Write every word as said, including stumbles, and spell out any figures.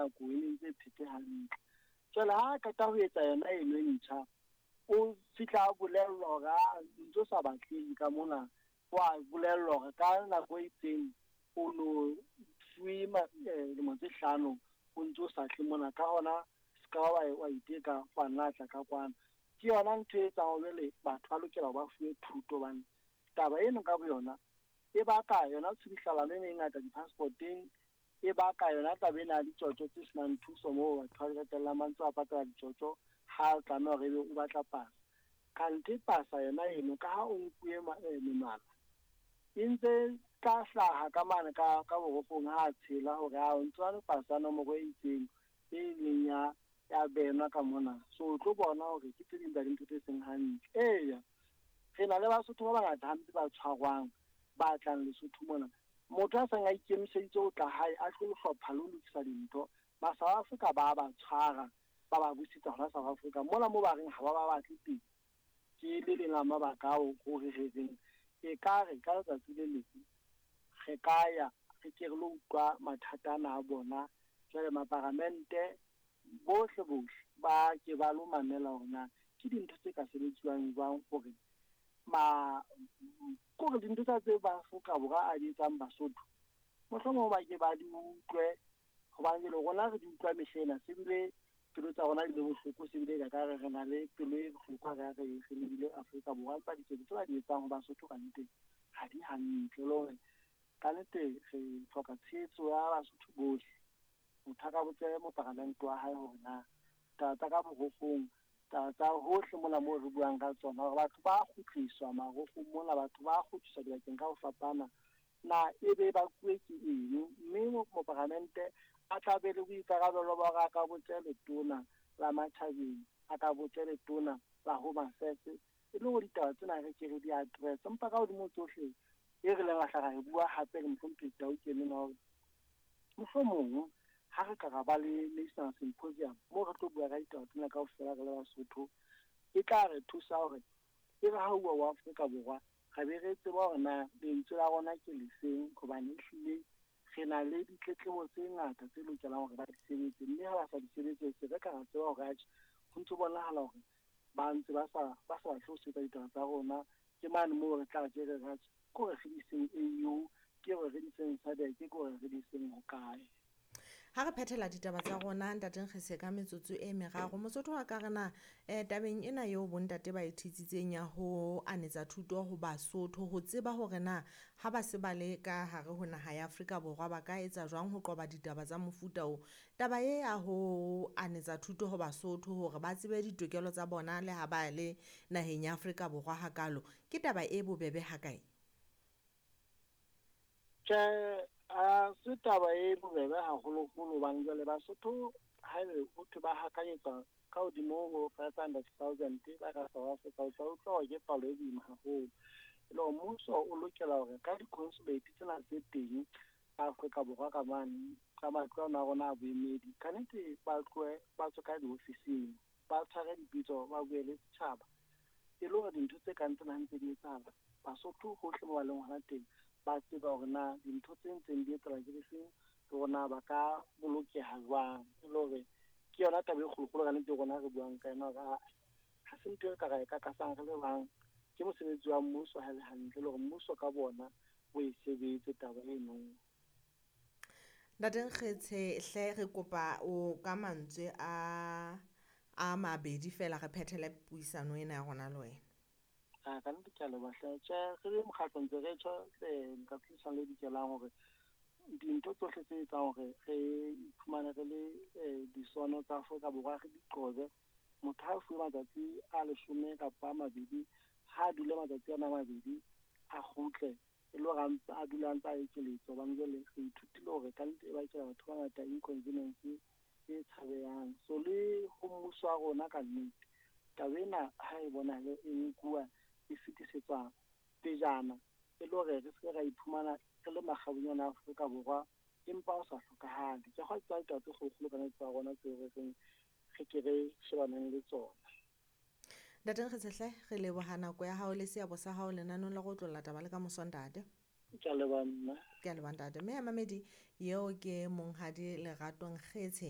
nako e ne ntse e phetse hantle. Jwale ha a qeta ho etsa yona eno e ntjha, o fihla a bolellwa hore a ntso sa batlehe ka mona, wa bolellwa hore ka nako e itseng o no fuwe dilemo tse hlano o ntso sa tle mona, ka hona se ka wa wa iteka wa nna tla ka kwana. Ke yona ntho e etsang hore jwale batho ba lokela hore ba fuwe thuto, hobane taba eno ka boyona e baka yona tshubuhlellano ena e ngata di-passport-eng, e baka yona taba ena ya ditjotjo tse senang thuso moo batho ba qetellang ba ntse ba patala ditjotjo ha o tlameha hore ebe o batla pasa. Kanthe pasa yona eno ka ha o nkuwe menwana e ntse tla hlaha ka mane ka ka borokgong ha a tshela hore a o ntso le pasa nomoro e itseng e leng ya ya benwa ka mona. So o tlo bona hore ke tse ding tsa dintho tse seng hantle. Eya, re na le Basotho ba bangata hampe ba tshwarwang ba tlang Lesotho mona. Motho a seng a ikemiseditse ho tla hae a tlo hlopha le ho lokisa dintho, ba South Africa ba ba tshwara ba ba busetsa hona South Africa mola moo ba reng ha ba ba batle teng. Ke le leng la mabaka ao hore re reng ekare ka letsatsi le leng re ka ya re ke re lo utlwa mathata ana a bona. Jwale maparamente bohle bohle ba ke ba lo mamela hore na ke dintho tse ka sebetsuwang jwang hore ma kore dintho tsa tse ba Afrika Borwa a di etsang Basotho mohlomong ba ke ba di utlwe, hobane jwale rona re di utlwa mehlena se bile pelo tsa rona di le bohloko, se bile ka re re na le pelo e bohloko ha re re re lebile Afrika Borwa, empa diketso tse ba di etsang ho Basotho ka nnete ha di hantle. Le hore ka nnete re hloka tshehetso ya Basotho bohle. Motho a ka botse moparamente wa hae hore na taba tsa ka borokgong, taba tsa hohle mona moo re buang ka tsona, hore batho ba kgutliswa marokgong mona, batho ba kgutliswa dibakeng ka ho fapana, na ebe ba kuwe ke eng? Mme moparamente a tla be le boikarabelo ba hore a ka botse letona la matjhabeng, a ka botse letona la Home Affairs, e le hore ditaba tsena re ke re di address. Empa ka hodimo tsohle e re leng ra hla ra e bua hape le mohlomphehi Tau Kene hore mohlomong ha re ka ra ba le national symposium moo re tlo bua ka ditaba tsena kaofela re le Basotho, e tla re thusa hore e re ha uwa wa Afrika Borwa re be re tseba hore na lentswe la rona ke lefeng, hobane ehlile re na le ditletlebo tse ngata tse lokelang hore ba di sebetse, mme ha ba sa di sebetse se re ka ra tseba hore atjhe ho ntso bonahala hore ba ntse ba sa ba sa batle ho sebetsa ditaba tsa rona. Ke mane moo re tla ke re atjhe ke hore re di iseng A U, ke hore re di iseng SADC, ke hore re di iseng hokae. Ha re phethela ditaba tsa rona ntate Nkgese ka metsotso e meraro, Mosotho wa ka re na eh, tabeng ena eo bontate ba e thitsitseng ya ho anetsa thuto ho Basotho, ho tseba hore na ha ba se ba le ka hare ho naha ya Afrika Borwa ba ka etsa jwang ho qoba ditaba tsa mofuta o. Taba e ya ho anetsa thuto ho Basotho hore ba tsebe ditokelo tsa bona le ha ba le naheng ya Afrika Borwa hakalo, ke taba e bobebe hakae? Tjhe, a se taba e bobebe haholoholo, hobane jwale Basotho haebe ho thwe ba hakanyetsa ka hodimo ho five hundred thousand ba ka South Africa, o tla utlwa hore ke palo e boima haholo. E le hore mmuso o lokela hore ka di-consulate tsena tse teng Afrika Borwa ka mane ka matlo ana a rona a boemedi, ka nnete ba tlohe ba tswe ka diofising, ba tshware dipitso, ba bue le setjhaba, e le hore dintho tse kang tsena ha ntse di etsahala Basotho hohle moo ba leng hona teng ba tseba hore na dintho tse ntseng di etsahala ke difeng, le hore na ba ka bolokeha jwang. E le hore ke yona taba e kgolokgolo ka nnete rona re buang ka yona, hore ha se ntho e re ka ra e kakasang re le bang, ke mosebetsi wa mmuso ha e le hantle, le hore mmuso ka bona o e sebetse taba eno. Ntate Nkgetse hle re kopa o ka mantswe a a mabedi fela re phethele puisano ena ya rona le wena. A ka nnete ke a leboha hle. Tjhe, re le mokgatlo ntse re tjho letsatsi le tjhabang le dikelang hore dintho tsohle tse etsang hore re iphumane re le disono tsa Afrika Borwa re di qobe. Motho ha a fuwe matsatsi a leshome kapa a mabedi, ha a dule matsatsi ana a mabedi a kgutle, e le hore a ntse a dula a ntse a ekeletsa, hobane jwale re ithutile hore ka nnete e bakela batho ba bangata inconvenience e tshabehang. So le ho mmuso wa rona ka nnete taba ena ha e bonahale e nkuwa e fetisetswa pejana, e le hore re se ke ra iphumana re le makgabunyane a Afrika Borwa empa ho sa hlokahale. Ke kgwa tsa ditaba tse kgolokgolo ka nnete tsa rona tseo re reng re ke re shebaneng le tsona. Ntate Nkgetse hle re leboha nako ya hao le seabo sa hao lenaneng la go otlolla taba le ka moso ntate. Ke a leboha nna. Ke a leboha ntate. Mme ya mamedi eo ke monghadi Lerato Nkgetse.